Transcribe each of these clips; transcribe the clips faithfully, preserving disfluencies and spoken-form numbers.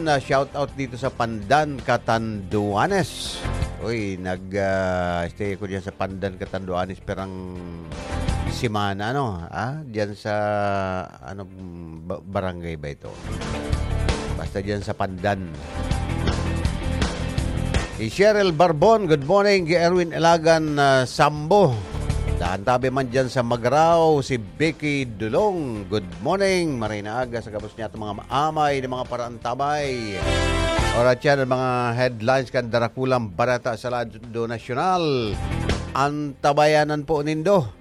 Na shout out dito sa Pandan, Catanduanes. Uy, nag, ah, stay ko diyan sa Pandan, Catanduanes, perang semana, ano, ah, diyan sa, ano, ba-, barangay ba ito? Basta diyan sa Pandan. Si Cheryl Barbon, good morning. Si Erwin Elagan, ah, Sambo. Dahan tabi man diyan sa Magrao, si Becky Dulong, good morning. Maray na aga sa gabos niya itong mga maamay na mga paraantabay. Oras yan ang mga headlines kan darakulang bareta sa lado nasyonal. Antabayanan po nindo.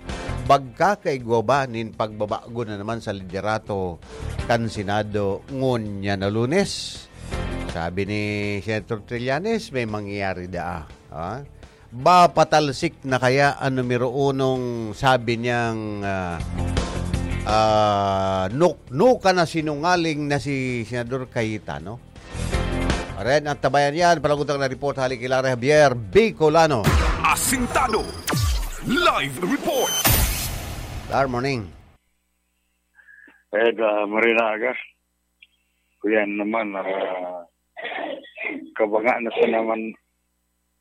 Bagkakaigwa ba nin pagbabago na naman sa liderato kan Senado ngunyan na Lunes? Sabi ni Senator Trillanes, may mangyayari daa. Ha? Ba, patalsik na kaya ang numero unong sabi niyang, ah, ah, nuk-, nuka na sinungaling na si Senador Cayetano? Ren, ang tabayan yan. Palagutang na report, hali kay Larry Javier, Bicolano. Asintado. Live report. Good morning. Eh, da, Marina Aga. Kuya naman, ah, kabanga na sa naman,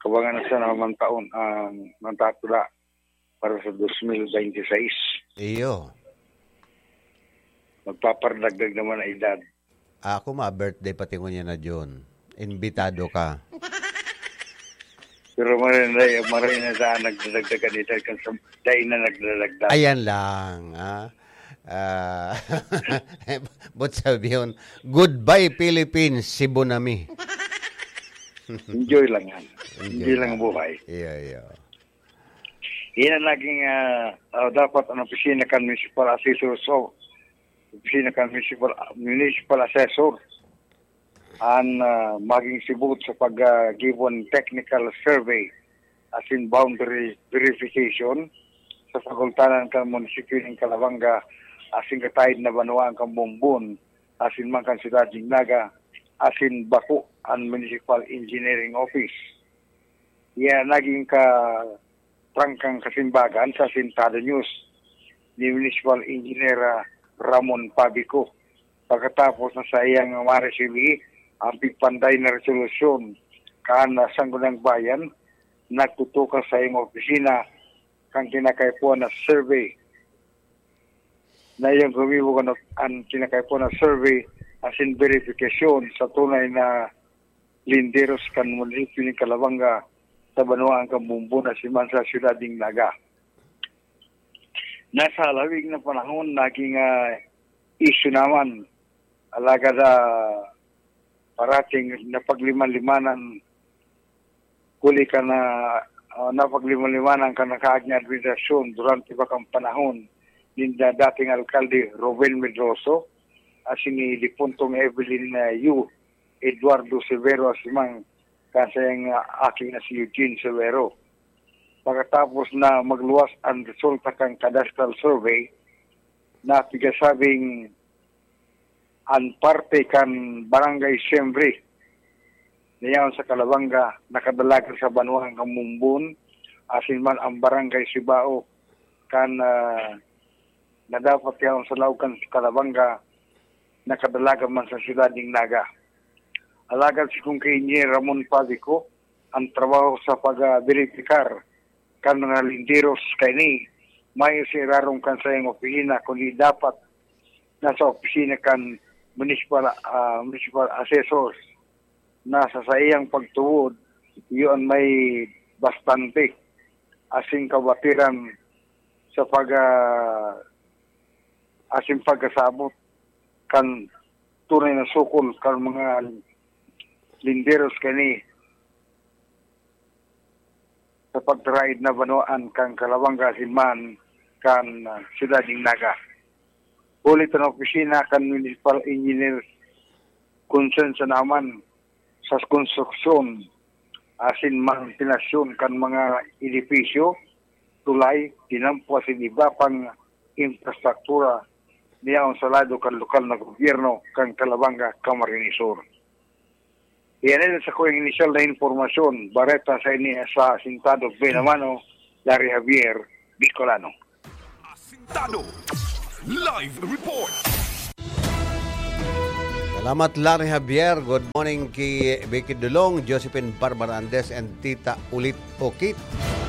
kabanga na sa naman taon ang natatula para sa dos mil bente seis. Iyo. Magpaparadagdag naman ang edad. Ako, ma-birthday pati ngunyan na June. Imbitado ka. Pero maray na, maray na sa nagdadagdagan edad kan sa, dahil na nagdadagdag. Ayan lang, ah. Ah, but sabi yun, "Goodbye, Philippines, Cebu na mi." Enjoy lang yan. Enjoy Enjoy lang lang. Buhay. Iyo, iyo. Yan ang naging, ah, ah, dapat ang opisina kan municipal assessor. So, opisina kan municipal, municipal assessor ang, ah, maging sibot sa pag, ah, given technical survey asin boundary verification sa pagultanan kan munisipyo nin Calabanga asin kataid na banwaan kan Bombon asin man kan siyudad nin Naga asin bako an Municipal Engineering Office. Iya naging katrangkang kasimbagan sa Asintado News ni Municipal Engineer, ah, Ramon Pabico. Pagkatapos na saiyang maresibi ang pigpanday na resolusyon kan Sangguniang Bayan, nagtutukan sa saiyang opisina kan kinakaipuhan na survey. Na iyang gumibo kan an kinakaipuhan na survey asin verifikasyon sa tunay na linderos kan munisipyo nin Calabanga sa banwaan kan Bombon asin man sa siyudad nin Naga. Nasa halawig na panahon, naging, ah, isyu naman. Alagad, ah, parating napagliman-limanan, huli ka na, ah, napagliman-limanan kan nakaaging administrasyon durante pa kan panahon nin da-, dating alkalde Ruben Medroso asin ni dipuntong Evelyn, ah, Yu Eduardo Severo asin man kan saiyang, ah, aki na si Eugene Severo. Pagkatapos na magluwas an resulta kan cadastral survey, na pigasabing an parte kan Barangay Siembre na yaon sa Calabanga nakadalagan sa banwaan kan Bombon, asin man an Barangay Sibao kan, ah, na dapat yaon sa laog kan Calabanga nakadalagan man sa siyudad nin Naga. Alagad si Kong Engineer Ramon Pabico, ang trabaho sa pag-verifikar kan mga linderos kaini, mayo sa irarom kan saiyang opisina, kundi dapat nasa opisina kan municipal, ah, municipal assessors na sa saiyang pagtuod, iyo an may bastante asin kabatiran sa pag, ah, asin pagkasabot kan tunay na sukol kan mga linderos kani sa pagtaraid na banwaan kan Calabanga asin man kan, ah, siyudad nin Naga. Huli ta an opisina kan municipal engineer, konsensya naman sa konstruksyon asin mantenasyon kan mga edipisyo, tulay, tinampo asin iba pang infrastruktura niyaon sa lado kan lokal na gobyerno kan Calabanga, Camarines Sur. Iyan sa kong inisyal na impormasyon, bareta sa ini sa Asintado Benamano, Larry Javier, Bicolano. Asintado Live Report. Salamat, Larry Javier. Good morning ki Vicky Dulong, Josephine Barbara Andes, and Tita Ulit Okit.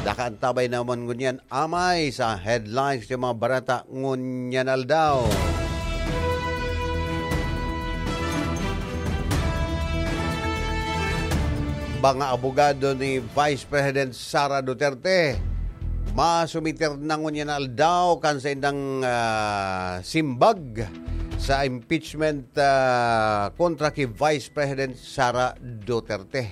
Nakaantabay naman ngunyan amay sa headlines sa mga barata ngunyan aldaw. Mga abogado ni Vice President Sara Duterte masumiter na ngunyan aldaw kan saindang, ah, simbag sa impeachment, ah, kontra ki Vice President Sara Duterte.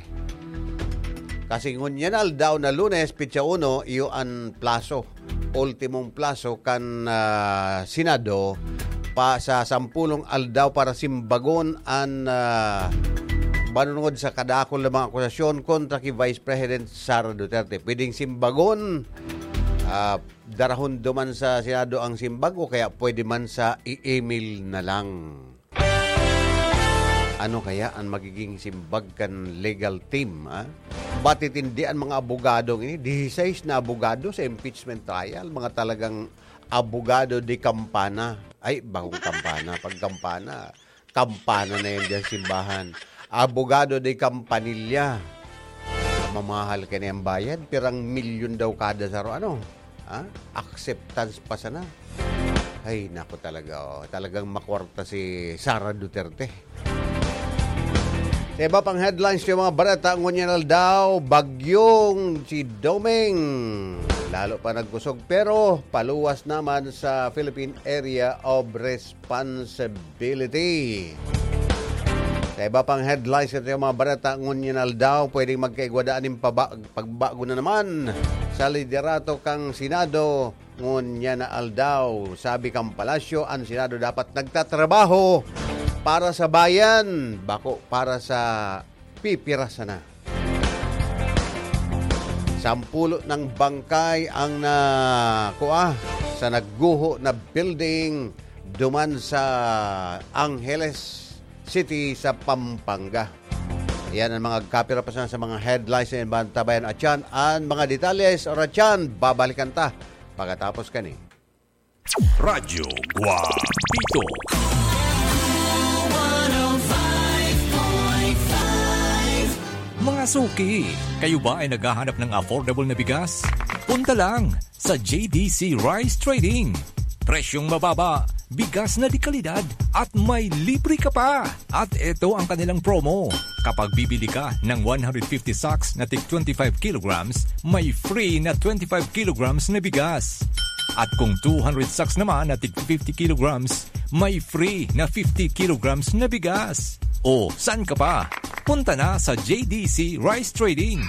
Kasi ngunyan aldaw na Lunes, petsa uno, iyo an plaso, ultimong plaso kan, ah, Senado pa sa sampulong aldaw para simbagon an, ah, manunod sa kadakul na mga akusasyon kontra ki Vice President Sara Duterte. Pwedeng simbagon, ah, darahon duman sa Senado ang simbag o kaya pwede man sa i-email na lang. Ano kaya ang magiging simbag kan legal team, ah? Matitindi an mga abogado ini. Dieciséis na abogado sa impeachment trial. Mga talagang abogado de kampana. Ay, bakong kampana. Pag kampana, kampana na yan dyan simbahan. Abogado de campanilla. Mamahal ka na yung bayad. Pirang milyon daw kada saro. Ano? Ha? Acceptance pa sana. Ay, naku talaga, oh. Talagang makwarta si Sara Duterte. Sa iba pang headlines, yung mga bareta, ngunyan aldaw, bagyong si Doming. Lalo pa nagkusog, pero paluwas naman sa Philippine Area of Responsibility. Sa iba pang headlines, ito yung mga bareta, ngunyan aldaw, pwedeng magkaigwa daan ng paba-, pagbago na naman sa liderato kang Senado. Ngunyan na aldaw, sabi kan palasyo, an Senado dapat nagtatrabaho para sa bayan, bako para sa pipira sana. Sampulo ng bangkay ang nakua sa nagguho na building duman sa Angeles City sa Pampanga. Yan ang mga kapira pa sana sa mga headlines na bantabayan at yan. Ang mga detalye sa oras yan, babalikan ta pagkatapos kani. Radyo Guapito. Mga suki, kayo ba ay naghahanap ng affordable na bigas? Punta lang sa J D C Rice Trading. Presyong mababa, bigas na de kalidad, at may libre ka pa! At eto ang kanilang promo. Kapag bibili ka ng one hundred fifty sacks na tig twenty-five kilograms, may free na twenty-five kilograms na bigas. At kung two hundred sacks naman na tig fifty kilograms, may free na fifty kilograms na bigas. O, saan ka pa? Punta na sa J D C Rice Trading.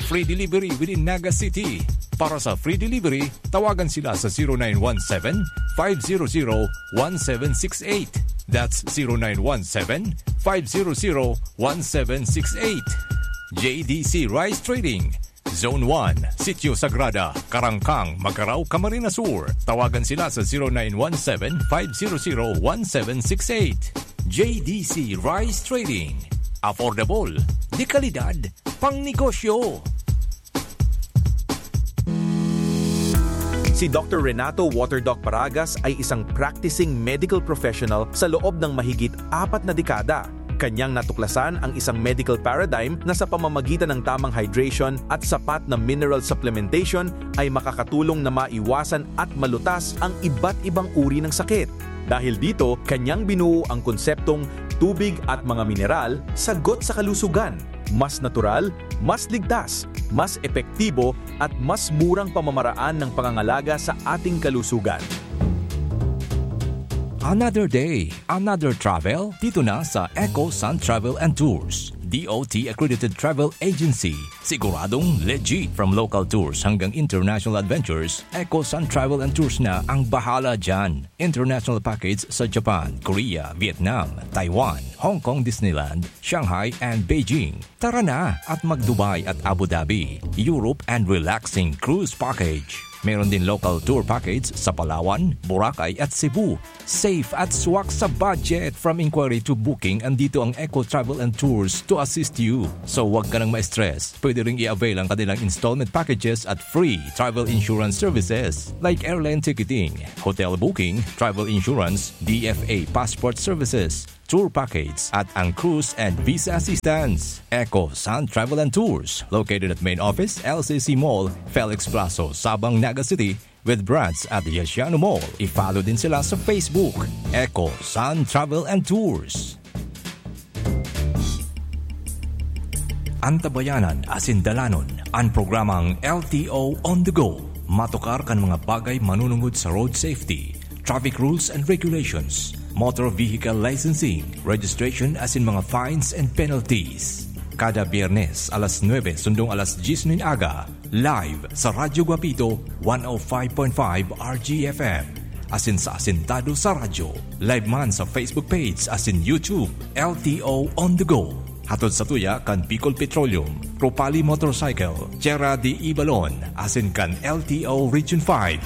Free delivery within Naga City. Para sa free delivery, tawagan sila sa zero nine one seven, five zero zero, one seven six eight. That's zero nine one seven, five zero zero, one seven six eight. J D C Rice Trading, Zone one, Sitio Sagrada, Karangkang, Magarao, Camarines Sur. Tawagan sila sa zero nine one seven, five zero zero, one seven six eight. J D C Rice Trading. Affordable, de kalidad, pang negosyo. Si Doktor Renato Waterdoc Paragas ay isang practicing medical professional sa loob ng mahigit apat na dekada. Kanyang natuklasan ang isang medical paradigm na sa pamamagitan ng tamang hydration at sapat na mineral supplementation ay makakatulong na maiwasan at malutas ang iba't ibang uri ng sakit. Dahil dito, kanyang binuo ang konseptong tubig at mga mineral, sagot sa kalusugan. Mas natural, mas ligtas, mas epektibo, at mas murang pamamaraan ng pangangalaga sa ating kalusugan. Another day, another travel, dito na sa Eco Sun Travel and Tours, D O T accredited travel agency. Siguradong legit. From local tours hanggang international adventures, Eco Sun Travel and Tours na ang bahala dyan. International package sa Japan, Korea, Vietnam, Taiwan, Hong Kong Disneyland, Shanghai and Beijing. Tara na at mag-Dubai at Abu Dhabi, Europe and relaxing cruise package. Meron din local tour package sa Palawan, Boracay at Cebu. Safe at swak sa budget. From inquiry to booking, andito ang Eco Travel and Tours to assist you. So, wag ka nang ma-stress. Pwede ring i-avail ang kanilang installment packages at free travel insurance services like airline ticketing, hotel booking, travel insurance, D F A passport services, tour package at ang cruise and visa assistance. Eco Sun Travel and Tours, located at main office, L C C Mall, Felix Plazo, Sabang, Naga City, with branch at Yasiano Mall. I-follow din sila sa Facebook, Eco Sun Travel and Tours. Antabayanan asin dalanon an programang L T O on the go. Matukar kan mga bagay manunungod sa road safety, traffic rules and regulations, motor vehicle licensing, registration asin mga fines and penalties. Kada Biyernes alas nuebe sundong alas dyes nin aga, live sa Radyo Guapito, one oh five point five R G F M. Asin sa Asintado sa Radyo. Live man sa Facebook page asin YouTube, L T O On The Go. Hatod sa tuya kan Bicol Petroleum, Propali Motorcycle, Tierra de Ibalon, asin kan L T O Region five.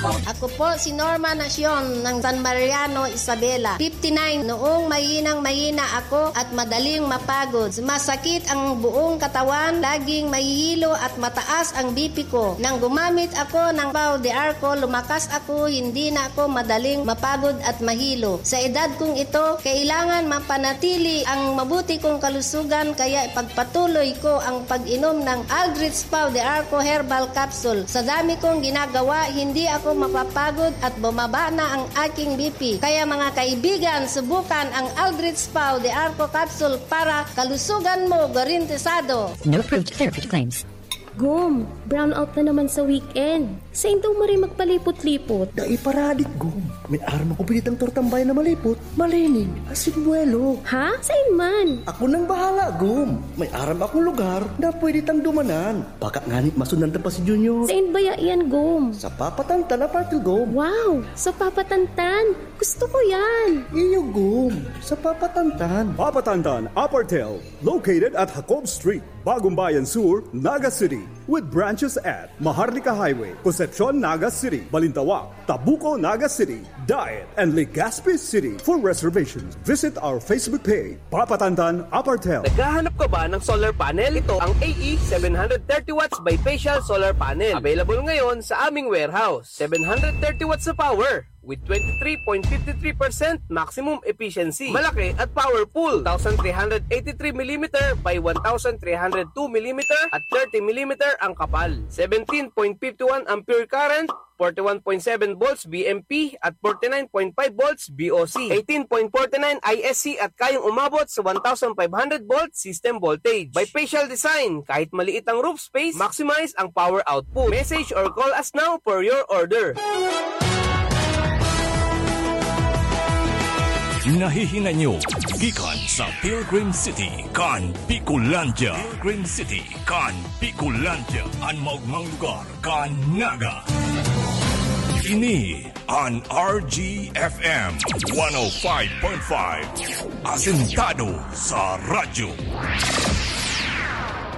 Ako po si Norma Nacion ng San Mariano, Isabela. Fifty-nine, noong mahinang-mahina ako at madaling mapagod. Sumasakit ang buong katawan, laging mahihilo at mataas ang B P ko. Nang gumamit ako ng Pau de Arco, lumakas ako, hindi na ako madaling mapagod at mahilo. Sa edad kong ito, kailangan mapanatili ang mabuti kong kalusugan, kaya ipagpatuloy ko ang pag-inom ng Aldrich Pau de Arco Herbal Capsule. Sa dami kong ginagawa, hindi ako mapapagod at bumaba na ang aking B P. Kaya mga kaibigan, subukan ang Aldrich Pau de Arco Capsule para kalusugan mo garantisado. No approved therapeutic claims. Gom, brownout na naman sa weekend. Sain daw maray magpalipot-lipot? Dai paradik, Gom. May aram ako pinitang tortang bayan na malipot, malining, asin buwelo. Ha? Sain man? Ako nang bahala, Gom. May aram akong lugar na pwede tang dumanan. Baka ngani masundan ta pa si Junior. Sain baya iyan, Gom? Sa Papatantan, Apartel, Gom. Wow! Sa Papatantan? Gusto ko yan! Iyo, Gom. Sa Papatantan. Papatantan, Apartel, located at Jacob Street, Bagong Bayan Sur, Naga City, with branches at Maharlika Highway, Concepcion, Naga City, Balintawak, Tabuco, Naga City, Daet, and Legazpi City. For reservations, visit our Facebook page, Papatantan Apartel. Naghahanap ka ba ng solar panel? Ito ang A E seven hundred thirty watts bifacial solar panel. Available ngayon sa aming warehouse. Seven hundred thirty watts na power with twenty-three point five three percent maximum efficiency. Malaki at powerful. Two thousand three hundred eighty-three millimeter by one thousand three hundred two millimeter at thirty millimeter ang kapal. Seventeen point five one ampere current, forty-one point seven volts V M P at forty-nine point five volts V O C, eighteen point forty-nine I S C at kayang umabot sa one thousand five hundred volt system voltage. Bifacial design, kahit maliit ang roof space, maximize ang power output. Message or call us now for your order. Nahihinay nyo gikan sa Pilgrim City kan Bicolandia. Pilgrim City kan Bicolandia, an maogmang lugar kan Naga. Ini an R G F M one oh five point five, asentado sa radyo.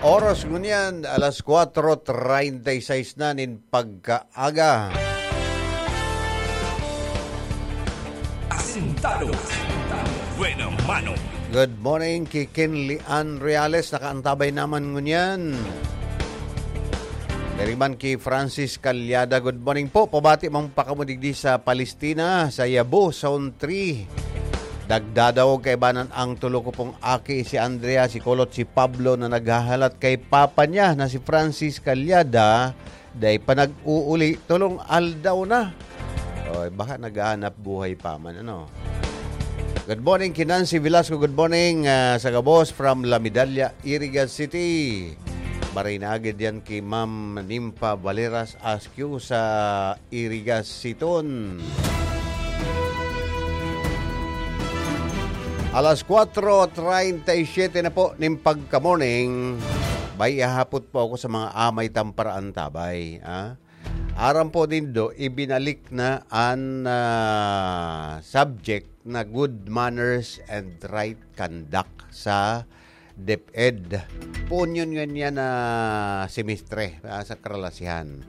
Oras ngunyan, alas kwatro treinta y seis na nin pagkaaga. Asentado. Buena mano. Good morning ki Kinli Ann Reales, nakaantabay naman ngunyan. Diri man ki Francis Calyada, good morning po. Pabati man pa kamo digdi sa Palestina, sa Yabo, Zone three. Nagdadangog kaibanan ang tulo ko pong aki, si Andrea, si Kulot, si Pablo, na naghahalat kay papa niya na si Francis Calyada, dai pa nag-uuli, tolong aldaw na. Oy, baka naghahanap buhay pa man, ano? Good morning, ki Nancy Velasco. Good morning, ah, sa gabos from La Medalla, Iriga City. Maray na agad yan ki Ma'am Nympha Valeras Askew sa Iriga City. Alas kwatro treinta y siete na po nin pagka-morning. May ihahapot po ako sa mga amay tang paraantabay, ah. Aram po nindo, ibinalik na an, ah, subject na good manners and right conduct sa DepEd. Poon yon ngunyan na semestre, ah, sa karalasihan.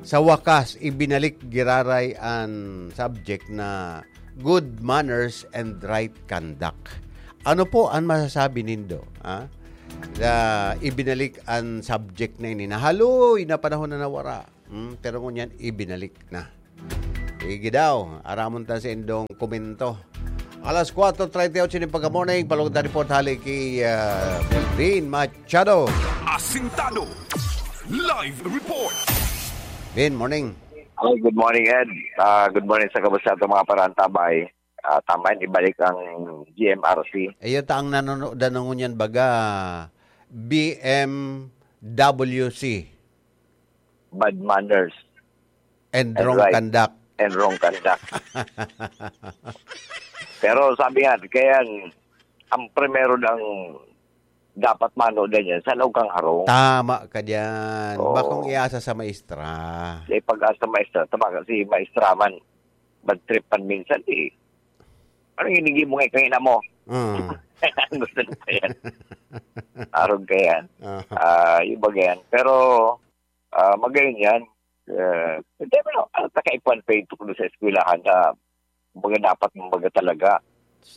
Sa wakas, ibinalik giraray an subject na good manners and right conduct. Ano po an masasabi nindo, ah? Na ibinalik an subject na ini, na haloy na panahon na nawara. Hmm, pero ngunyan, ibinalik na. Sige daw, aramon ta sa indong komento. Alas kwatro treinta y ocho nin pagka-morning, palugdan report hali ki, ah, Melvin Machado. Asintado. Live report. Vin, morning. Hi, good morning, Ed. Ah, good morning sa kamusta atong mga parantabay. Ah, tama yan, ibalik ang G M R C. Iyo ta ang nanonood na ngunyan baga, B M W C. Bad manners. And And wrong right. Conduct. And wrong conduct. Pero sabi nga, kaya ang primero lang dapat manood na yan, sa laog kang harong. Tama ka diyan. Oo. Bakong iasa sa maestra. Sa ipag-asa maestra, tama kasi maestra man, bad trip man minsan eh. Ano yung hindi mo ngayon kangina mo? Mm. Gusto na pa yan. Arog ka yan. Aha. Ah, yung baga yan. Pero, ah, magayon yan. Ah, hindi mo na, ano, takaipan pa yung tukdo sa eskwelahan na, kumbaga, dapat, kumbaga, talaga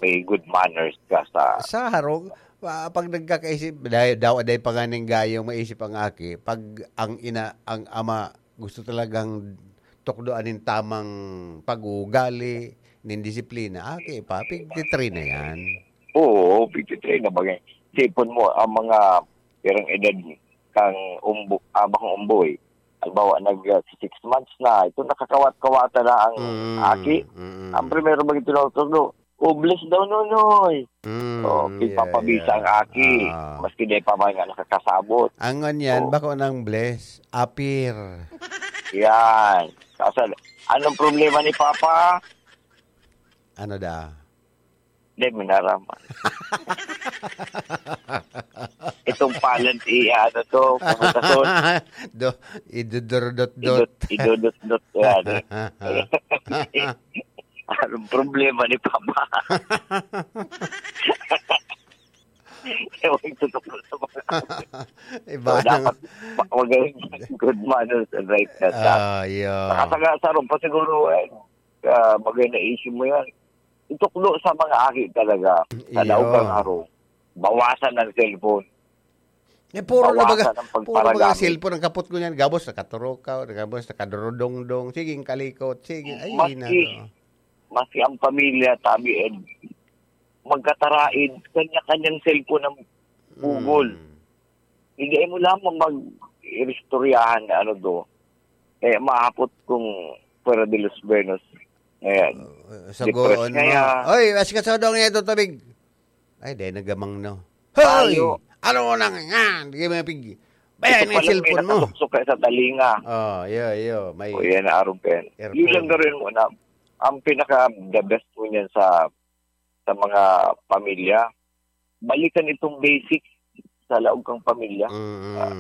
may good manners ka sa Sa harong, ah, pag nagkakaisip, dahil daw, dahil pa nga ning gayong maisip ang aki, pag ang ina, ang ama, gusto talagang tukdoan nin tamang pag-uugali, nin disiplina, aki pa, pigtitrain na yan. Oo, pigtitrain na bagay. Sipon mo, ang mga pirang edad kang umbo-, ah, bakong umboy, halimbawa, nag, ah, six months na, ito nakakawat-kawata na ang Mm, aki. mm. Ang primero maging tinutukdo, "Oh, bless daw, Nonoy." Mm, Oh, yeah, pigpapabisa yeah. ang aki. Ah. Maski di pa man nga nakakasabot. Ang ngunyan, Oh. bako nang bless, apir. Yan. Kaso, anong problema ni Papa? Ano da? Di, minaraman. Itong palad, i-, ano to, puputason. Do, idudurdot-dot. Idut-, idudot-dot, yan. Anong problema ni Papa? Ewan, tutok na sa mga Iba So, nang dapat ma-, magaling good manners and right conduct. Ah, yeah. Nakasagasa ron pa siguro, eh. Ah, maganda issue mo yan. Itukdo sa mga aki talaga, sa Iyo. laog kang harong. Bawasan ang cellphone. Eh, puro na baga, Bawasan ang puro na baga pagparagami. cellphone ang kapot ko niyan. Gabos, nakaturokaw, gabos, nakadurudongdong. Sige, ang kalikot. Sige, ay, Maski, na, no. maski ang pamilya, tabi, eh, magkataraid, kanya-kanyang cellphone ang pugol. Mm. Hindi mo lamang mag-iristoryahan na ano do. Eh, maapot kung fuera de los buenos. Ayan. Uh, sa Depressed goon mo. kaya. Oy, asikaso daw niya ito, tabig. Ay, dahil nagamang, no. Hoy! Tayo. Ano na nga? Di ka mapig-, Bayan Ito ang pala may cellphone mo. nakatuksok ka sa talinga. Oh, iyo, iyo. May O yan, arog ka yan. aircon. Yun lang gawin mo na. Ang pinaka the best mo niyan sa, sa mga pamilya, balikan itong basics sa laog kang pamilya. Mm. Ah,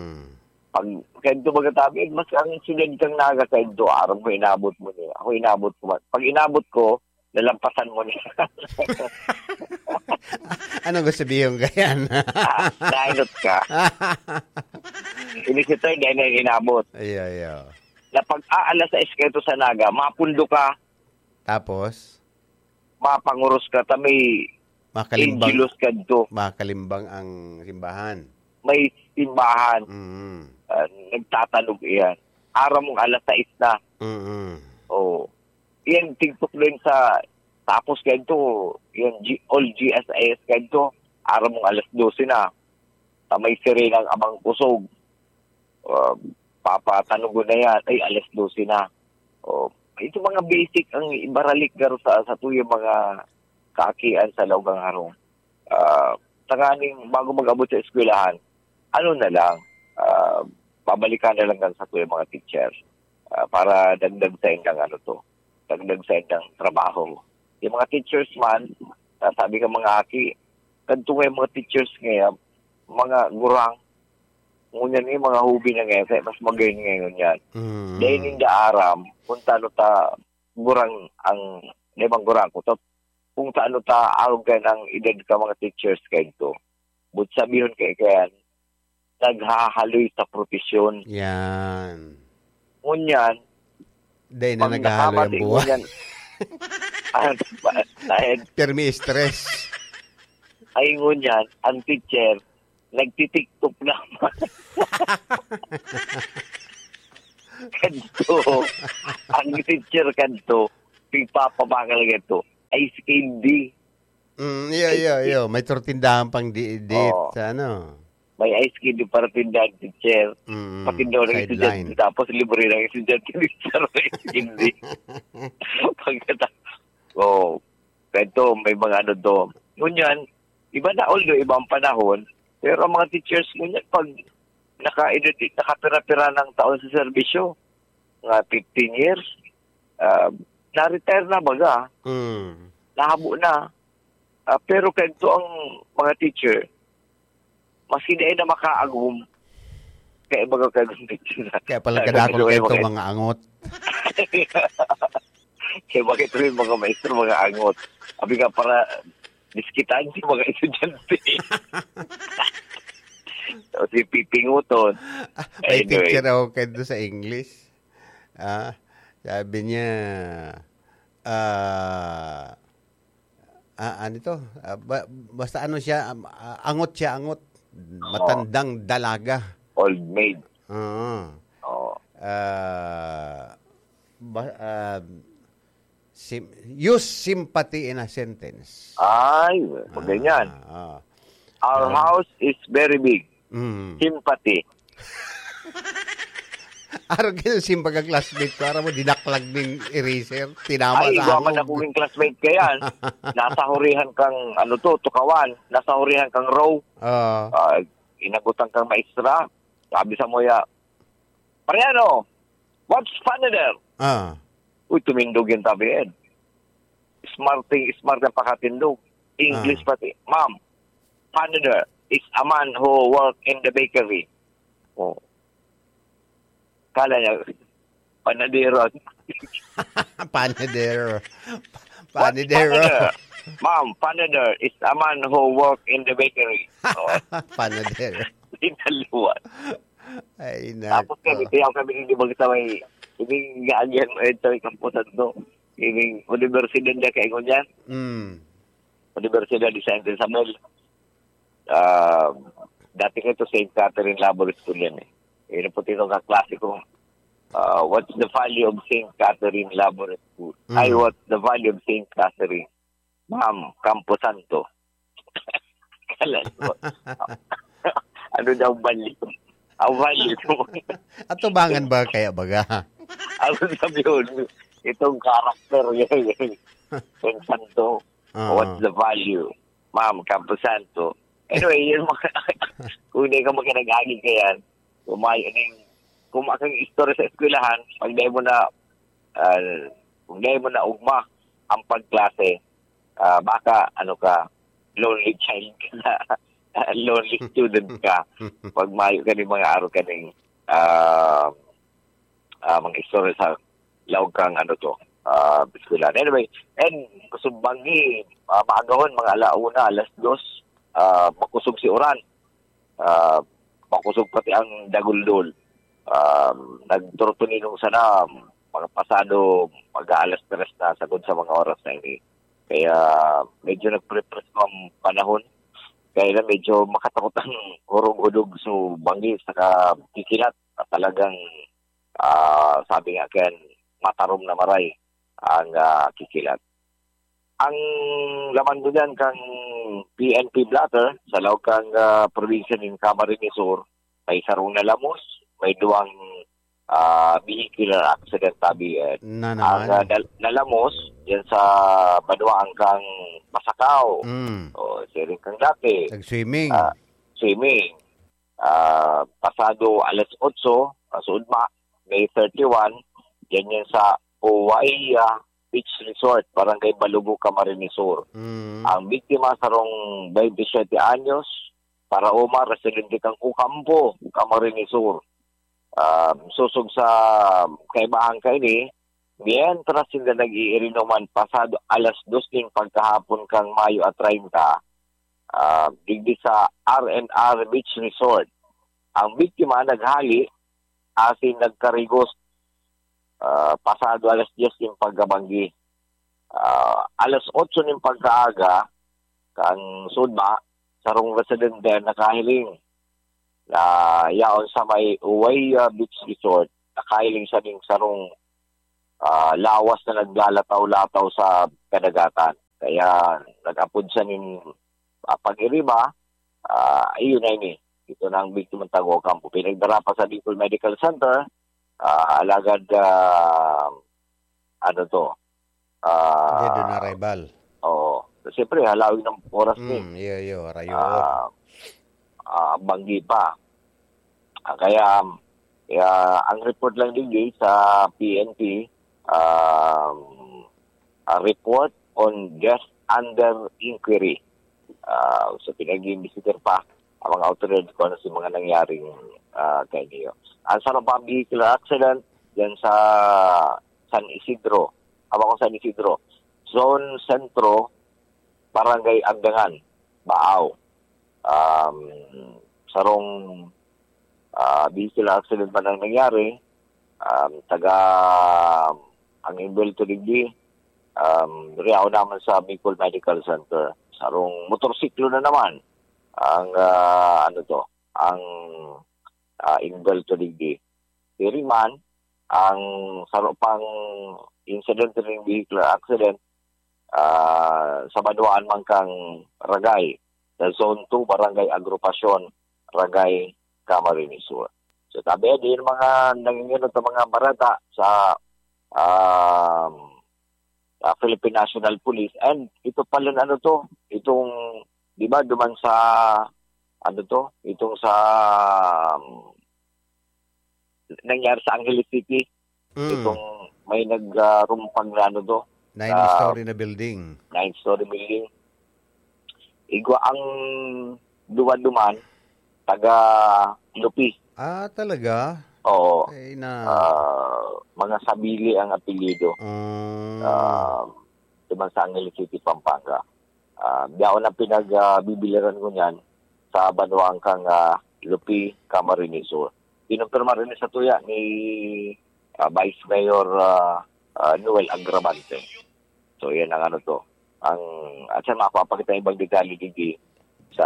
pag, kaya ito baga tabi, mas ang sugad kang naga, kaya ito, araw mo, inabot mo niya. Ako, inabot ko. Pag inabot ko, nalampasan mo niya. Anong gusto sabihin ka yan? Ah, nainot ka. Inisita, hindi na inabot. Iyo, iyo. Na pag aalas sais ka ito sa naga, mapundo ka, Tapos? mapanguros ka, ta may Makalimbang, Angelus kadto. makalimbang ang simbahan. May simbahan. Mm. Ah, nagtatanog iyan. Aram mong alas sais na. Mm. Oo. Iyan, tigtok din sa, tapos kadto, yung G-, all G S I S kadto, aram mong alas dose na. Ta may sirenang abang kusog. Ah, papatanugon na yan. Ay, alas dose na. Oh, ito mga basic ang ibaralik garo sa, sa tuyang mga kaakian sa laog kang harong. Ah, tanganing bago mag-abot sa eskwelahan, ano na lang, ah, babalikan na lang kan sa tuyang mga teacher. Ah, para dagdag sa indang ano to, dagdag sa indang trabaho. Yung mga teachers man, ah, sabi ka mga aki, kadto nga yung mga teachers ngayon, mga gurang, ngunyan yung mga hobby na ngayon, kaya mas magayon ngayon yan. Mm. Dahil hindi aram, kung taano ta gurang ang, di bang gurang ko, to, kung taano ta arog ka ng edad ka mga teachers kayo to. But sabihon kay kaya, naghahaloy sa propesyon. Yan. Ngunyan, Dahil na pag naghahaloy ang nakamati buhay. ngunyan, ang, ay, Pirmi stress. ay ngunyan, ang teacher, nagtitiktok naman. Kadto, ang teacher kadto, Pigpapabakal ka to. Ice candy. Mm, iyo, iyo, iyo. May turtindahan pang di, di Oo. sa ano. May ice candy para tindahan, teacher. Mm, Patindahan ng sideline. Estudyante, tapos libre ng estudyante, teacher, ng ice candy. Pagkata-, oh, ganito, may mga ano to. Ngunyan, iba na, although ibang panahon, pero ang mga teachers ngunyan, pag naka-, nakapira-pira ng taon sa serbisyo, mga fifteen years, ah, na-retire na baga, Mm. nahabo na. Ah, pero kaya ito ang mga teacher, maski di na makaagom, kaya baga kaya gumit na. Kaya pala Kaya kadakol gusto kayo ko mga mga angot. Kaya bakit may mga maestro, mga angot? Abi nga para diskitan si mga estudyante. Tapos yung pipinguton. Ah, may Anyway. teacher ako kayo doon sa English. Ah, sabi niya, ah, ah, ano to? Ah, ba-, basta ano siya, um, ah, angot siya, angot. Oo. Matandang dalaga. Old maid. Oo. Oo. Ah, ba-, ah, sim-, use sympathy in a sentence. Ay, pag ganyan. Ah, ah. Our Ah. house is very big. Mm. Sympathy. Araw kayo, simbag ang classmate ko. Araw mo, dinaklag ning eraser. Tinama Ay, sa igwa ako. man ako yung classmate ka yan. Nasa hurihan kang, ano to, tukawan. Nasa hurihan kang row. Oo. Ah, inagutan kang maestra. Sabi sa muya, "Mariano, what's funny there?" Ah. Uy, tumindog yung tabi, Ed. Smarting, smart ang pakatindog. English Ah. pati. "Ma'am, funny there is a man who work in the bakery." Oh. Kala niya, panadero. Panadero. What Panadero. panadero? Ma'am, panadero is a man who work in the bakery. Oh. Panadero. Dinaluan. Ay, Tapos nako. kami, kaya kami hindi magsamay. Hindi nga yan, eh, sa may kampusan to. Hindi, universidad niya kaya ko niya. Mm. Universidad de Santa Isabel. Ah, dati ko ito, Saint Catherine Labor School yan eh. Yun po ito kaklase ko. Ah, what's the value of Saint Catherine Labor School? Mm. Ay, what's the value of Saint Catherine? Ma'am, Campo Santo. Kala ko. Ano daw value? Ang value ko. Atubangan ba kaya baga? Ang sabi ko, itong character niya, yung santo. Oo. What's the value? Ma'am, Campo Santo. Anyway, yun mga, kung hindi ka makinagagig ka yan, kumain, kumain kang istorya sa eskwelahan, pag dahil mo na, ah, kung dahil mo na ugma ang pagklase, ah, baka, ano ka, lonely child ka na, lonely student ka, pag mayo ka ni mga aro ka ning, ah, ah, mga istorya sa laog kang ano to, ah, eskwelahan. Anyway, and kusog banggi, ah, maagahon, mga ala una, alas dos, ah, makusog si uran. Ah, makusog pati ang daguldol. Ah, nagturtuninong sana, mga pasado, mag-aalas tres na, sagod sa mga oras na ini. Kaya medyo nagpre-presko ang panahon. Kaya na medyo makatakot ang hurog-hudog, so banggi, saka kikilat. Talagang, ah, sabi nga kan, matarom na maray ang, ah, kikilat. Ang laman ko dyan kang P N P blotter, sa laog kang, ah, probinsya nin Camarines Sur, may sarong nalamos, may duwang, ah, vehicular accident tabi, eh. Na Ang, naman. ah, nal-, nalamos, yan sa banwaan kang Masakaw. Mm. O, siring kang dati. Nag-swimming. Ah, swimming. Ah, pasado alas otso, ah, sa ugma, May thirty-one, yan yan sa Uwaya Beach Resort, Barangay Balugo, Camarines Sur. Mm. Ang biktima, sarong twenty-seven anyos, paraoma, residente kang Ocampo, Camarines Sur. Ah, sosog sa kaibahan kaini, mientras sinda nag-iirinuman pasado alas dos nin pagkahapon kang Mayo a treinta, ah, digdi sa R and R Beach Resort. Ang biktima naghali asin nagkarigos, ah, pasado alas diyes nin pagkabanggi. Ah, alas otso nin pagkaaga, kan sudma, sarong residente ang nakahiling na yaon sa may Uwaya Beach Resort, nakahiling siya ning sarong, ah, lawas na naglalataw-lataw sa kadagatan. Kaya nag-apod siya nin, ah, pag-iriba, ah, ayun na ini. Ito na ang biktima ng Tago Ocampo. Pinagdara pa sa Bicol Medical Center, ah, alagad, ah, ano to, ah, Dead on arrival. Oo. Siyempre, halawig ng oras ni. Mm, iyo, iyo, rayo. Ah, ah, banggi pa. Ah, kaya, kaya ang report lang digdi sa P N P, um, a report on death under inquiry. Ah, so, pinag-iimbestigar pa ang mga awtoridad kung ano si mga nangyaring, ah, kainiyo. Ang sarong pang vehicular accident dyan sa San Isidro, hawa ko San Isidro, Zone Centro, Barangay Agdangan, Baao. Um, sarong, ah, vehicular accident man ang nangyari. Um, taga, ang involved to digdi, um, riyaw naman sa Bicol Medical Center. Sarong motorsiklo na naman ang, ah, ano to, ang, ah, involved to digdi. Diri man, ang saro pang incident ning vehicular accident, ah, sa banwaan man kan Ragay, sa Zone two, Barangay Agrupacion, Ragay, Camarines Sur. So, tabi, di yung mga nanginginom sa mga barata sa, um, ah, Philippine National Police. And ito pala na ano to, itong, di ba, duman sa, ano to, itong sa, um, nangyari sa Angeles City. Mm. Itong may nagrumpang na ano to, Nine ah, story na building. Nine-story building. Igwa ang duwa duman, taga Lupi. Ah, talaga? Oo. Ay, na. Ah, mga Sabili ang apelyido. Mm. Ah, duman sa Angeles City, Pampanga. Ah, yaon ang pinag, ah, bibiliran ko niyan sa banwaan kang, ah, Lupi, Camarines Sur. Kinumpirma rin sa tuya ni, ah, Vice Mayor, ah, ah, Noel Agravante. So, yan ang ano to. Ang, at sa mapapakita ibang detalye digdi sa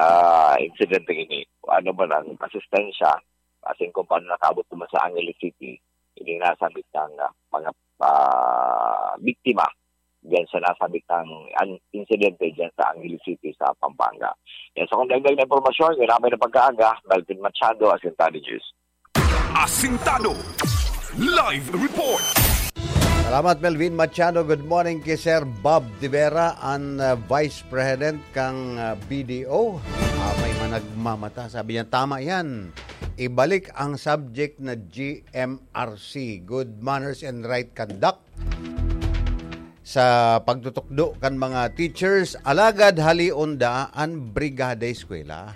insidente ini. Kung ano man ang asistensya, as in kung paano nakabot naman sa Angeles City, hindi nasabit ng, ah, mga, ah, biktima diyan sa nasabit ng an-, insidente diyan sa Angeles City sa Pampanga. Yan, sa kung dagdag na impormasyon, yan ang may na pagkaaga, Melvin Machado, Asintado News. Asintado Live Report. Salamat, Melvin Machado. Good morning kay Sir Bob Tivera, an, uh, Vice President kang, uh, B D O. Ah, may managmamata. Sabi niya, "Tama yan. Ibalik ang subject na G M R C, good manners and right conduct, sa pagtutukdo kan mga teachers, alagad halion da an brigada eskwela."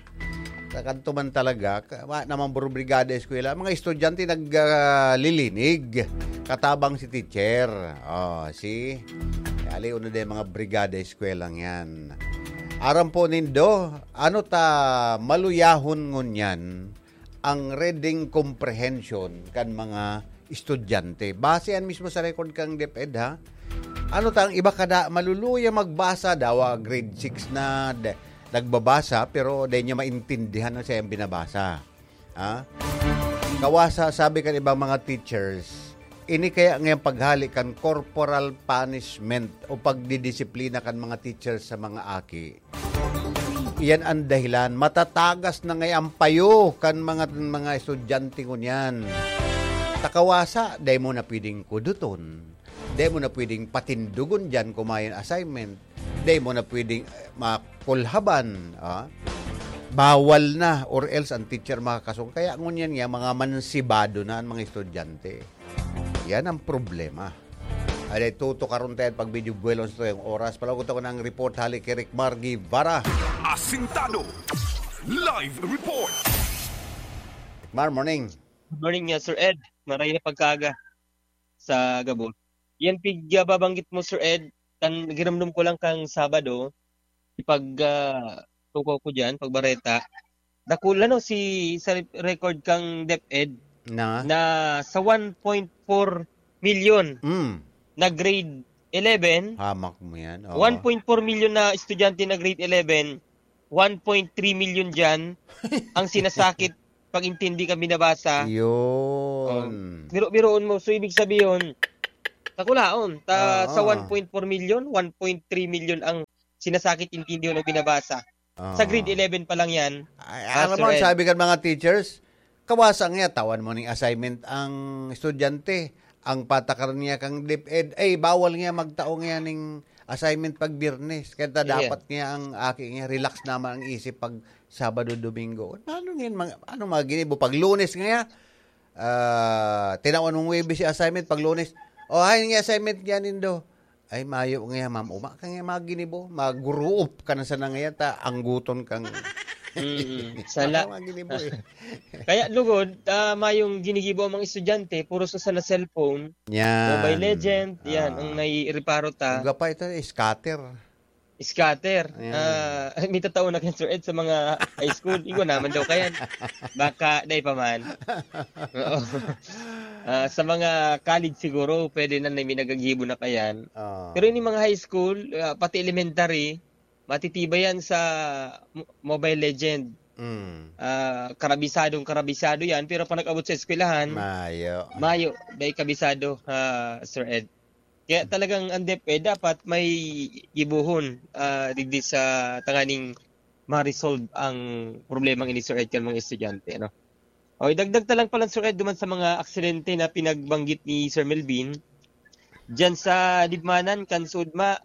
Sa kanto man talaga, ka-, wa naman buro brigada eskwela. Mga estudyante nag, ah, lilinig. Katabang si teacher. Oh, see? Halion na din mga brigada eskwela yan. Aram po nindo, ano ta maluyahon ngunyan ang reading comprehension kan mga estudyante. Base yan mismo sa record kang DepEd, ha? Ano ta, ang iba kada maluluya magbasa, dawa grade six na de-, nagbabasa, pero di niya maintindihan ang siyang binabasa. Ha? Kawasa, sabi kan ibang mga teachers, ini kaya ngayang paghali kan corporal punishment o pagdidisiplina kan mga teachers sa mga aki. Iyan ang dahilan. Matatagas na ngay ang payo kan mga, mga estudyante ngunyan. Ta kawasa, dai mo na pwedeng kuduton. Dai mo na pwedeng patindugon diyan kung may assignment. Dai mo na pwedeng, eh, makulhaban. Ah? Bawal na, or else ang teacher makakasong. Kaya ngunyan nga, mga mansibado na ang mga estudyante. Yan ang problema. Aday, tutukaron tayo pag medyo buwelo sa tuyang oras. Palagot ako ng report hali kay Ricmar Guevara. Asintado Live Report. Mar, morning. Good morning, uh, Sir Ed. Maray na pagkaaga sa gabos. Yan pig, uh, babanggit mo, Sir Ed, kan ginomdom ko lang kang Sabado, ipag, ah, tukaw ko diyan, pagbareta. Dakula, no, si, sa record kang DepEd Na? na sa one point four million Mm. na grade eleven, Hamak mo yan. Oo. one point four million na estudyante na grade eleven, one point three million diyan ang sinasakit pag intindi ka binabasa. Yun. Oh, biro-biroon mo. So, ibig sabihin, Kulaon, ta, sa Oo. one point four million, one point three million ang sinasakit intindihon o binabasa. Sa Oo. grade eleven pa lang yan, Ay, ah, alam mo, ang Sir Ed. sabi kan mga teachers, "Kawasa nga, tawan mo ning assignment ang estudyante. Ang patakaran niya kang DepEd, ay, bawal nga magtao nga ning assignment pag Biyernes. Kaya ta Yeah. dapat nga ang aki nga relax naman ang isip pag Sabado, Domingo." Ano nga yun, mga, ano mga ginibo? Pag Lunes nga, ah, tinawan mong Huwebes yung assignment, pag Lunes, "Oh, ay, nga assignment nga nindo." "Ay, mayo nga, ma'am. Uma ka nga mga ginibo. Maguruop ka na sana ngayon, ta angguton kang" Mm, sala. Mga ginibo, eh. Kaya lugod, ah, mayong ginigibo ang mga estudyante, puro sa sana cellphone, Yan. Mobile Legend, yan, Ah. ang naiireparo ta. Ang gapa ito, eh, scatter. Scatter. Yan. Ah, ay, may tatao na kan Sir Ed sa mga high school. Igo naman daw kayan. Baka, dai pa man. Oo. Ah, sa mga college siguro, pwede na, na may nagagibo na kayan. Oo. Pero yung mga high school, ah, pati elementary, matitibay yan sa mo-, Mobile Legend. Mm. Ah, karabisadong karabisado yan, pero pag nag-abot sa eskwelahan, Mayo. mayo, dai kabisado, ah, Sir Ed. Kaya talagang ang DepEd dapat may gibohon, ah, digdi sa tanganing ma-resolve ang problemang ini, Sir Ed, kan mga estudyante, no? O, idagdag ta lang pala, Sir Ed, duman sa mga aksidente na pinagbanggit ni Sir Melvin, diyan sa Libmanan, kan Sudma,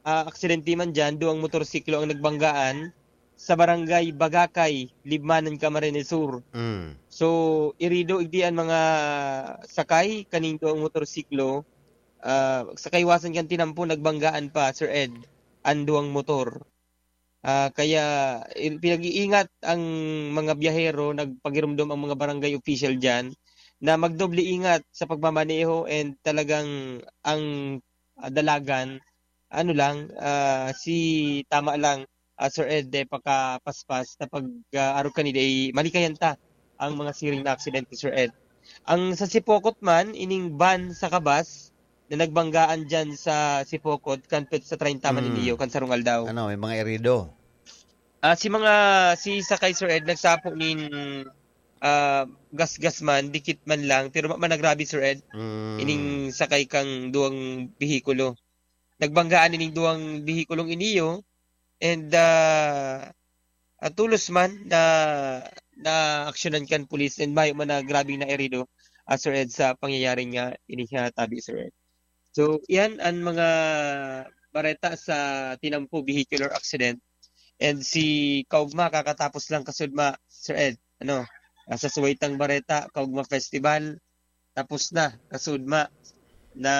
ah, aksidente man diyan, duwang motorsiklo ang nagbanggaan sa barangay Bagakay, Libmanan, Camarines Sur. Mm. So, irido igdi an mga sakay kaning duwang motorsiklo, ah, sa kaiwasan kan tinampo, nagbanggaan pa, Sir Ed, an duwang motor. Ah, kaya, i-, pinag-iingat ang mga biyahero, nagpagiromdom ang mga barangay official diyan na magdoble ingat sa pagmamaneho and talagang ang, ah, dalagan, ano lang, ah, si, tama lang, ah, Sir Ed, eh, pakapaspas na pag, ah, arog kanina, eh, malikayan ta ang mga siring na aksidente, Sir Ed. Ang sa Sipokot man, ining van sa kabas na nagbanggaan diyan sa Sipokot, kan petsa treinta man Mm. iniyo, kan sarong aldaw. Ano, may mga erido? Ah, si mga, si sakay, Sir Ed, nagsapo nin, ah, gasgas man, dikit man lang, pero ma-, managrabe, Sir Ed. Mm. Ining sakay kang duwang behikulo. Nagbanggaan ining duwang behikulong iniyo, and, ah, ah, tolos man na naaksyonan kan pulis, and mayo man na grabeng naerido, ah, Sir Ed, sa pangyayaring nga ini nga tabi, Sir Ed. So, iyan an mga bareta sa tinampo vehicular accident. And si kaugma, kakatapos lang kasudma, Sir Ed, ano, ah, sa Suwaytang Bareta, Kaugma Festival, tapos na, kasudma, na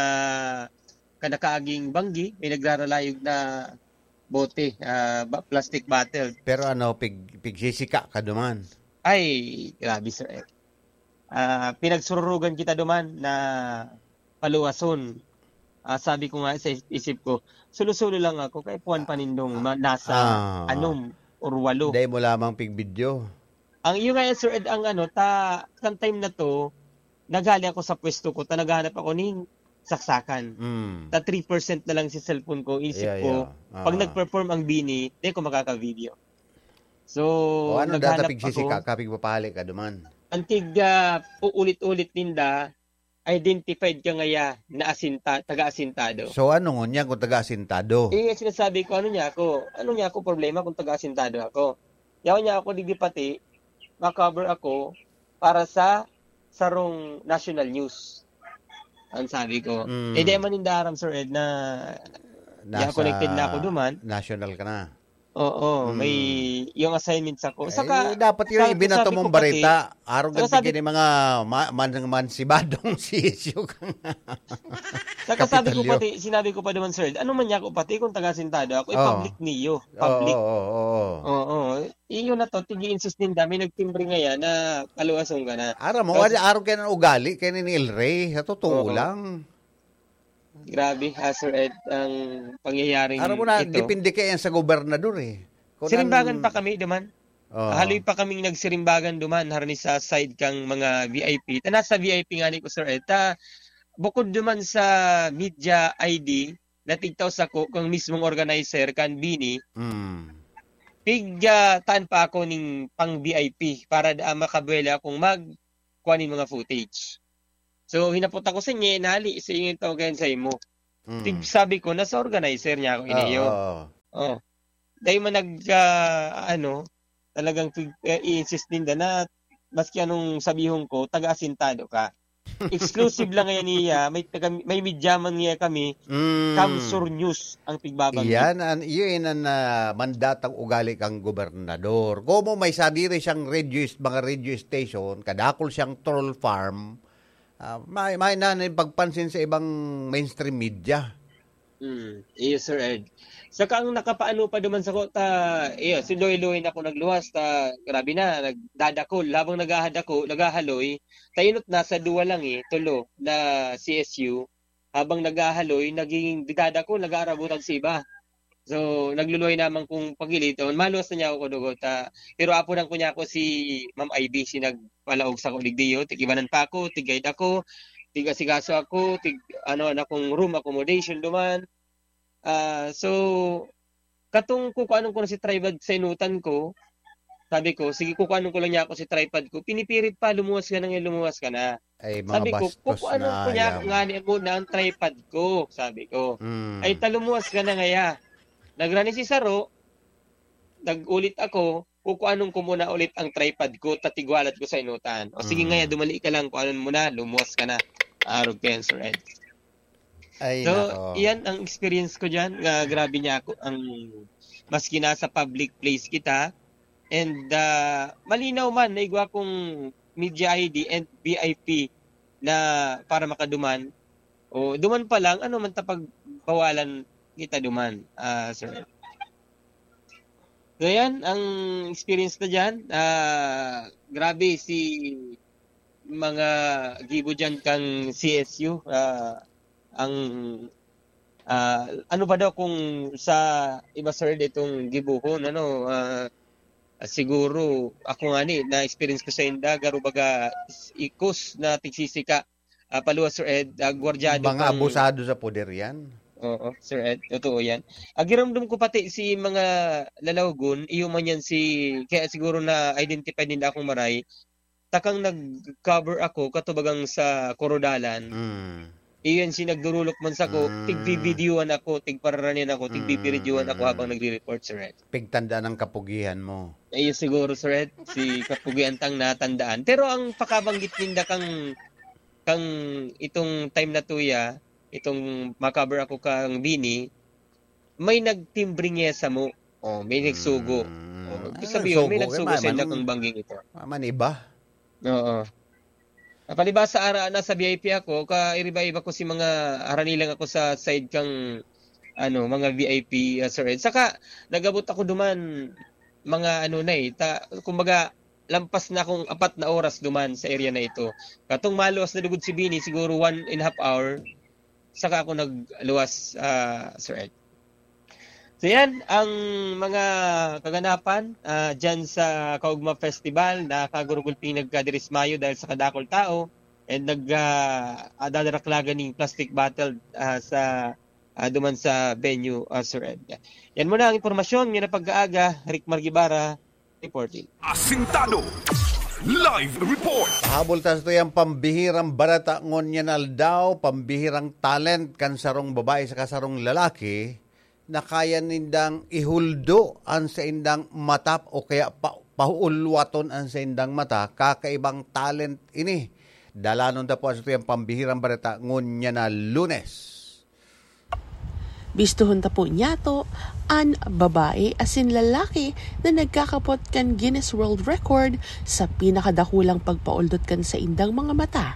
kanakaaging banggi, may nagraralayog na bote, ah, ba-, plastic bottle. Pero ano, pig-, pigsisika ka duman? Ay, grabe, Sir Ed. Ah, pinagsururugan kita duman na paluwason. Ah, sabi ko nga sa is-, isip ko, "Sulo-sulo lang ako, kay puwan pa nindong ma-, nasa Ah. anom or walo." Dai mo lamang pigbidyo. Ang, yun nga yan, Sir Ed, ang ano, ta-, kan time na to, naghali ako sa pwesto ko, ta naghahanap ako ning saksakan. Mm. Ta three percent na lang si cellphone ko, isip Yeah, ko, yeah. pag Ah. nag-perform ang bini, di ko makaka-video. So, O, ano, naghanap data pigsisika ako. ka, pigpapahali ka duman? Antig, ah, uulit-ulit ninda, identified ka ngaya na asinta-, taga-asintado. So, ano ngunyan kung taga-asintado? Eh, sinasabi ko, ano niya ako? Ano niya ako problema kung taga-asintado ako? Yaon niya ako, digdi pati, ma-cover ako para sa sarong national news. Ang sabi ko. Mm. Eh, di man ninda aram, Sir Ed, na Nasa connected na ako duman. national ka na. Oo, Mm. may, yung assignment sa ko. Eh, Saka, dapat yun, sabi ko, ibinato sabi mong ko pati, bareta. Arog saka ang sabi tigin mga ma-, man-, mansibadong sisyo ka nga. Saka sabi ko Kapitolyo. pati, sinabi ko pa naman, "Sir, ano man niya ako pati kung taga-asintado ako, eh, Oo. public niyo, Oo, public." oo, oo. Oo. Iyo na to, tigi-insist ninda, may nagtimbre ngayon na paluwason ka na. Aram mo, Tapos wala, arog kayo ng ugali, kayo ni El Rey, sa totoo Oo. lang. Grabe, ha, Sir Ed, ang pangyayaring Aram mo na, ito. depende kayo yan sa gobernador eh. Kung Sirimbagan ang pa kami duman. Oo. Haloy pa kaming nagsirimbagan duman, harani sa side kang mga V I P. Ta nasa V I P nga ni ko, Sir Ed. Ta, bukod duman sa media I D, na tigtaw sako kang mismong organizer kan bini, Mm. pig, ah, taan pa ako ning pang V I P para da-, makabuwela akong mag-, kuha ning mga footage. So, hinapot ako sa niya, nali, sa inyo tawag yan sa imo. Mm. Tig-, sabi ko, nasa organizer niya ako, iniyo. Oo. Oh. Dahil man nag, ah, ano, talagang tig-, eh, i-insist ninda na maski anong sabihon ko, taga-asintado ka. Exclusive lang ngayon niya, may taga, may media man niya kami, Mm. Kamsur News ang tigbabanggit. Iyan, an-, iyan ang, ah, mandatang ugali kang gobernador. Komo may sadiri siyang radio, mga radio station, kadakol siyang troll farm, ah, may, may na, na pagpansin sa ibang mainstream media. Mm, iyo, Sir Ed. Saka ang nakapaano pa duman sa ko, ta, iyo, si Loy-Loy na ako nagluwas, ta, grabe na, nagdadakol. Habang naghahadako-, naghahaloy, ta inot na sa duwa lang eh, tulo na C S U. Habang naghahaloy, naging didadakol, nag-aarabutan sa iba. So, nagluluway naman kung pagiliton, maluwas na niya ako kudugot, ta, pero apunan ko niya ako si Ma'am Ivy, si nagpalaog sa ko digdiyo, tig-ibanan pa ako, tig-guide ako, tig-asikaso ako, tig-, ano, na kung room accommodation duman. Ah, so, katong kukuanon ko na si tripod sa inutan ko, sabi ko, "Sige, kukuanon ko lang niya ako si tripod ko." Pinipirit pa, "Lumuwas ka na ngayon, lumuwas ka na." Ay, mga Sabi ko, bastos "Kukuanon na ko niya ako ayaw. Ngani muna ang tripod ko," sabi ko. Mm. "Ay, ta lumuwas ka na ngaya." Nagrani si Saro, nag-ulit ako, "Kukuanon ko muna ulit ang tripod ko, tatigwalat ko sa inutan." "O sige Mm. ngaya, dumali ka lang, kuanon mo na, lumuwas ka na." Arog kayo, Sir Ed. Ay, So, nako. Iyan ang experience ko diyan, nga grabe niya ako, ang, maski nasa public place kita, and, ah, malinaw man, naigwa kong media I D and V I P na para makaduman, o duman pa lang, ano man ta pagbawalan kita duman, ah, sir. So, yan ang experience na diyan. Ah, grabe si mga gibo diyan kang C S U, ah, ang, ah, ano pa daw kung sa iba, sir, ditong gibohon, ano, ah, siguro ako nga ni, na-experience ko sa inda, garo baga ikos na tigsisika, ah, paluwas, Sir Ed, ah, gwardyado Mga kang abusado sa poder yan. Oo, Sir Ed, totoo yan. Ah, giramdam ko pati si mga lalawagon, iyo man yan si, kaya siguro na-identify ninda akong maray, takang nag-cover ako katubagang sa Korodalan. Mm. Iyon si nagdurulok man sako, Mm. tigbibidyuhan ako, tigpararanian ako, tigbibiridyohan ako Mm. habang nagre-report, Sir Ed. Pigtanda ng kapugihan mo. Ayun siguro, Sir Ed, si kapugihan tang natandaan. Pero ang pakabanggit ninda kang, kang itong time na tuya, itong ma-cover ako kang Bini, may nagtimbre niya sa mo. Oh, may nagsugo. Mm. Oh, ibig Ano sabihin, may nagsugo, eh, nagsugo ma-, sa inda man-, kang bangging ito. Maman iba. Oo. Ah, palibasa ara na sa V I P ako, ka iriba-iba ko si mga haranilang ako sa side kang, ano, mga V I P, ah, Sir Ed. Saka, nagabot ako duman, mga ano na eh, ta-, kumbaga, lampas na akong apat na oras duman sa area na ito. Katong maluwas na lugod si Bini, siguro one and a half hour, saka ako nagluwas, ah, Sir Ed. So yan, ang mga kaganapan, ah, dyan sa Kaugma Festival, nakakagurugulpi nagkadiris mayo dahil sa kadakol tao, and nag, ah, ah, dadaraklagan ning plastic bottle, ah, sa, ah, duman sa venue, ah, Sir Ed. Yan muna ang impormasyon, yan ang pag-aaga, Rick Margibara, reporting. Asintado. Live report. Pahabol ta sa tuyang pambihirang bareta ngunyan aldaw, pambihirang talent kan sarong babae saka sarong lalaki na kaya nindang ihuldo an saindang mata o kaya pa-, pahuulwaton an saindang mata, kakaibang talent ini. Dalanon ta po sa tuyang pambihirang bareta ngunyan na Lunes. Bistohon ta po niyato an babae asin lalaki na nagkakapot kan Guinness World Record sa pinakadakulang pagpaoldot kan saindang mga mata.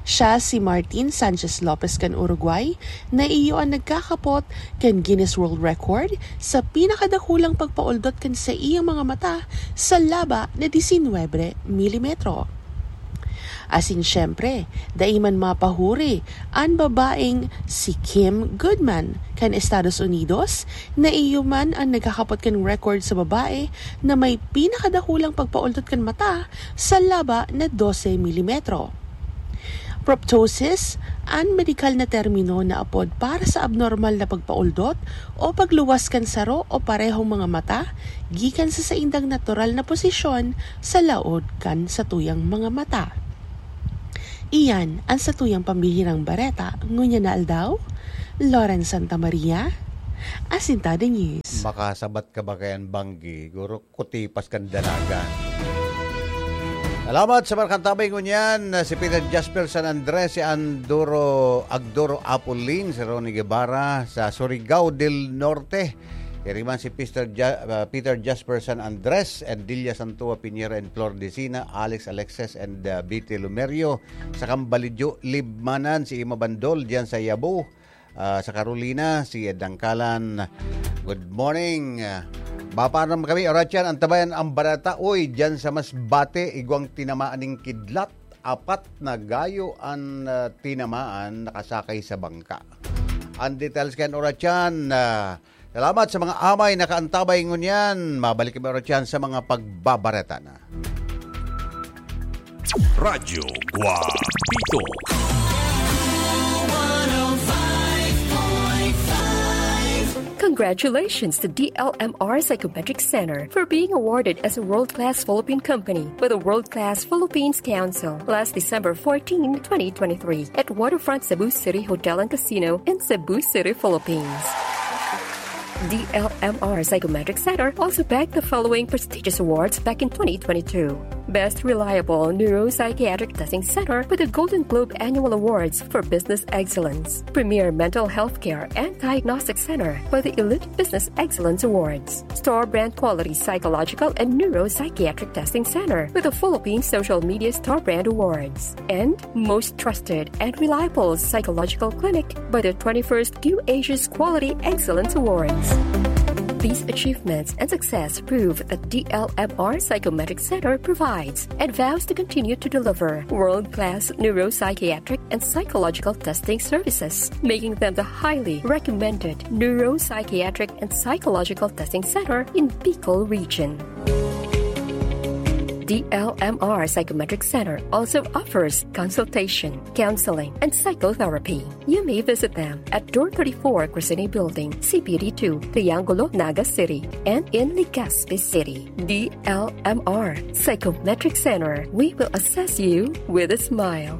Siya si Martin Sanchez Lopez kan Uruguay, na iyo an nagkakapot kan Guinness World Record sa pinakadakulang pagpaoldot kan saiyang mga mata sa laba na disinwebe milimetro. Asin siyempre, dai man mapahuri an babaeng si Kim Goodman kan Estados Unidos, na iyo man an nagkakapot kan record sa babae na may pinakadakulang pagpaoldot kan mata sa laba na dose milimetro. Proptosis, an medikal na termino na apod para sa abnormal na pagpaoldot o pagluwas kan saro o parehong mga mata gikan sa saindang natural na posisyon sa laog kan satuyang mga mata. Iyan an satuyang pambihirang bareta ngunyan na aldaw. Loren Santa Maria, Asintada News. Makasabat ka ba kayan, Banggi? Guro, kutipas kan dalagan. Salamat sa mga kantabay ngunyan, si Peter Jasper San Andres, si Andoro, Agdoro Apolin, si Ronnie Guevara, sa Surigao del Norte. Iriman si Peter Ja-, ah, Peter Jasper San Andres and Delia Santua Piñera and Flor Decina, Alex Alexis and, ah, Betty Lumerio. Sa Kambalidyo, Libmanan, si Ima Bandol, diyan sa Yabo. Ah, sa Carolina, si Ed Dangkalan. Good morning. Ah, mapaanam kami, Orachan, antabayan ang bareta. Uy, diyan sa Masbate, igwang tinamaan ning kidlat. Apat na gayo an, ah, tinamaan, nakasakay sa bangka. Ang details kan Orachan, ah, Salamat sa mga amay nakaantabay ngunyan. Mabalik kami oras yan sa mga pagbabareta na. Radyo Guapito. Congratulations to D L M R Psychometric Center for being awarded as a world-class Philippine company by the World Class Philippines Council last December fourteen, twenty twenty-three, at Waterfront Cebu City Hotel and Casino in Cebu City, Philippines. D L M R Psychometric Center also bagged the following prestigious awards back in twenty twenty-two: Best Reliable Neuropsychiatric Testing Center with the Golden Globe Annual Awards for Business Excellence, Premier Mental Health Care and Diagnostic Center for the Elite Business Excellence Awards, Star Brand Quality Psychological and Neuropsychiatric Testing Center with the Philippine Social Media Star Brand Awards, and most trusted and reliable psychological clinic by the twenty-first Q Asia's Quality Excellence Awards. These achievements and success prove that D L M R Psychometric Center provides and vows to continue to deliver world-class neuropsychiatric and psychological testing services, making them the highly recommended neuropsychiatric and psychological testing center in Bicol region. D L M R Psychometric Center also offers consultation, counseling, and psychotherapy. You may visit them at Door thirty-four, Crescene Building, C P D two, Triangulo, Naga City, and in Legazpi City. D L M R Psychometric Center, we will assess you with a smile.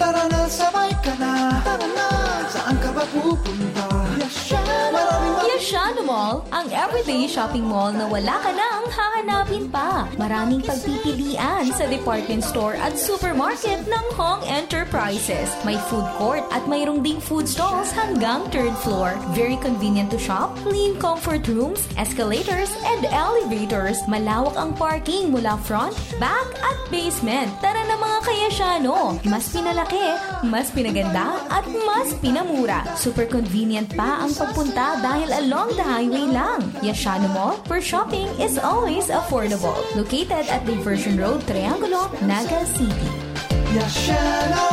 Tara na, sabay ka na. Tara na, saan ka ba pupunta? Yashano Mall. Maraming mga Yashano Mall, ang everyday shopping mall na wala ka nang hahanapin pa. Maraming pagpipilian sa department store at supermarket ng Hong Enterprises. May food court at mayroong ding food stalls hanggang third floor. Very convenient to shop, clean comfort rooms, escalators, and elevators. Malawak ang parking mula front, back, at basement. Tara na, mga ka-Yashano! Mas pinalaki, mas pinaganda, at mas pinamura. Super convenient pa ang pagpunta dahil along the highway lang. Yashano Mall, where shopping is always affordable. Located at Diversion Road, Triangulo, Naga City. Yashano!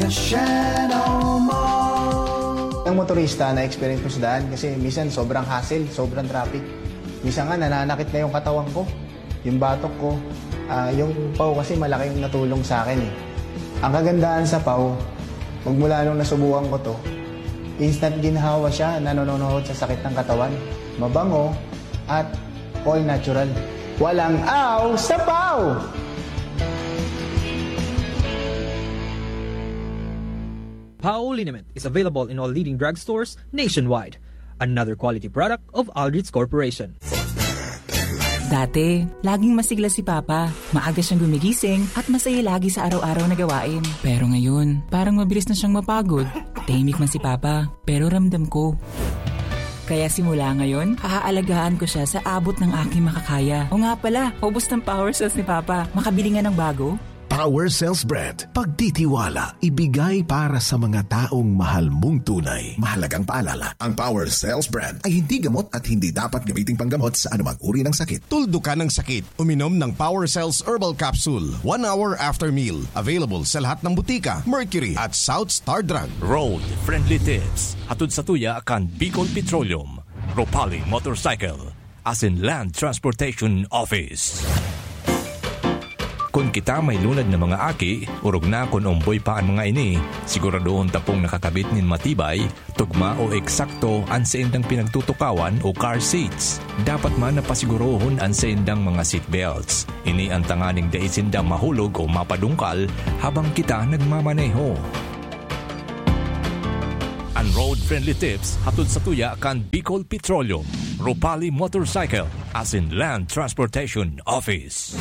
Yashano Mall! Ang motorista, na-experience ko sa daan kasi minsan sobrang hassle, sobrang traffic. Minsan nga, nananakit na yung katawan ko, yung batok ko. Ah, yung pau kasi malaki yung natulong sa akin eh. Ang kagandahan sa pau, magmula nung nasubukan ko to, instant ginhawa siya, nanononohod sa sakit ng katawan. Mabango at all natural. Walang aw sa pau! Pau liniment is available in all leading drugstores nationwide. Another quality product of Aldrich Corporation. Dati, laging masigla si Papa. Maaga siyang gumigising at masaya lagi sa araw-araw na gawain. Pero ngayon, parang mabilis na siyang mapagod. Tahimik man si Papa, pero ramdam ko. Kaya simula ngayon, aaalagaan ko siya sa abot ng aking makakaya. O nga pala, ubos ng power cells ni Papa. Makabili nga ng bago? Power Cells Brand. Pagtitiwala, ibigay para sa mga taong mahal mong tunay. Mahalagang paalala, ang Power Cells Brand ay hindi gamot at hindi dapat gamiting panggamot sa anumang uri ng sakit. Tuldukan ang sakit. Uminom ng Power Cells Herbal Capsule one hour after meal. Available sa lahat ng butika, Mercury at South Star Drug. Road Friendly Tips. Hatod sa tuya kan Bicol Petroleum, Ropali Motorcycle, asin Land Transportation Office. Kun kita may lunad na mga aki, orog na kun omboy pa an mga ini, siguradohon ta pong nakakabit nin matibay, tugma o eksakto an saindang pinagtutukawan o car seats. Dapat man na pasigurohon an saindang mga seatbelts. Ini an tanganing dai sinda mahulog o mapadungkal habang kita nagmamaneho. An Road Friendly Tips hatod sa tuya kan Bicol Petroleum, Ropali Motorcycle, asin Land Transportation Office.